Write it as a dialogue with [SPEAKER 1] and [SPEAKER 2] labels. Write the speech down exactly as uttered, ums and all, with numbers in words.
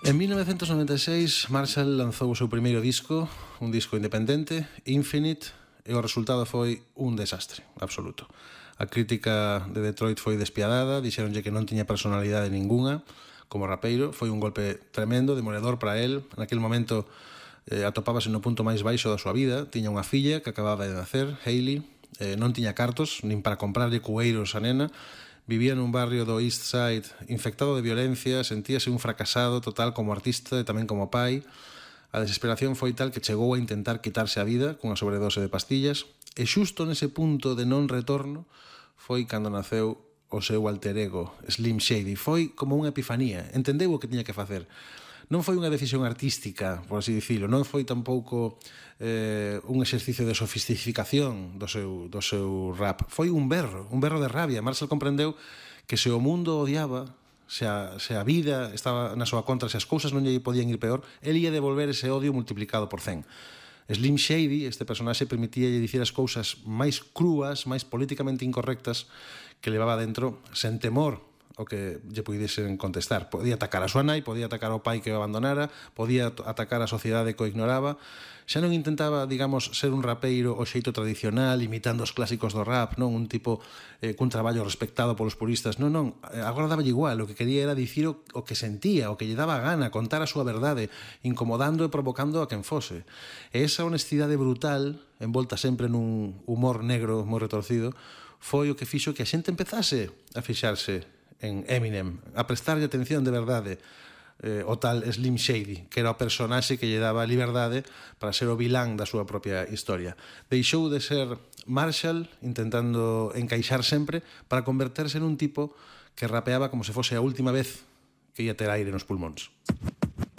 [SPEAKER 1] En mil novecientos noventa e seis, Marshall lanzou o seu primeiro disco, un disco independente, Infinite, e o resultado foi un desastre absoluto. A crítica de Detroit foi despiadada, dixeronlle que non tiña personalidade ninguna como rapeiro, foi un golpe tremendo, demoledor para él. Naquele momento eh, atopábase no punto máis baixo da súa vida, tiña unha filla que acababa de nacer, Hailey, eh, non tiña cartos, nin para comprarlle cueiros a nena, vivía nun barrio do East Side infectado de violencia, sentíase un fracasado total como artista e tamén como pai. A desesperación foi tal que chegou a intentar quitarse a vida cunha sobredose de pastillas e xusto nese punto de non retorno foi cando naceu o seu alter ego, Slim Shady. Foi como unha epifanía, entendeu o que tiña que facer. Non foi unha decisión artística, por así dicilo, non foi tampouco eh, un exercicio de sofisticación do seu, do seu rap. Foi un berro, un berro de rabia. Marshall comprendeu que se o mundo odiaba, se a, se a vida estaba na súa contra, se as cousas non lle podían ir peor, el ia devolver ese odio multiplicado por cen. Slim Shady, este personaxe, permitía dicir as cousas máis crúas, máis políticamente incorrectas que levaba dentro, sen temor o que lle puidesen contestar. Podía atacar a súa nai, podía atacar ao pai que o abandonara, podía atacar a sociedade que o ignoraba. Xa non intentaba, digamos, ser un rapeiro o xeito tradicional, imitando os clásicos do rap, non un tipo eh, cun traballo respectado polos puristas. Non, non, agora daba igual, o que quería era dicir o, o que sentía, o que lle daba gana, contar a súa verdade, incomodando e provocando a quen fose. E esa honestidade brutal, envolta sempre nun humor negro moi retorcido, foi o que fixo que a xente empezase a fixarse en Eminem, a prestarlle atención de verdade eh, o tal Slim Shady, que era o personaxe que lle daba liberdade para ser o vilán da súa propia historia. Deixou de ser Marshall intentando encaixar sempre para converterse en un tipo que rapeaba como se fose a última vez que ia ter aire nos pulmóns.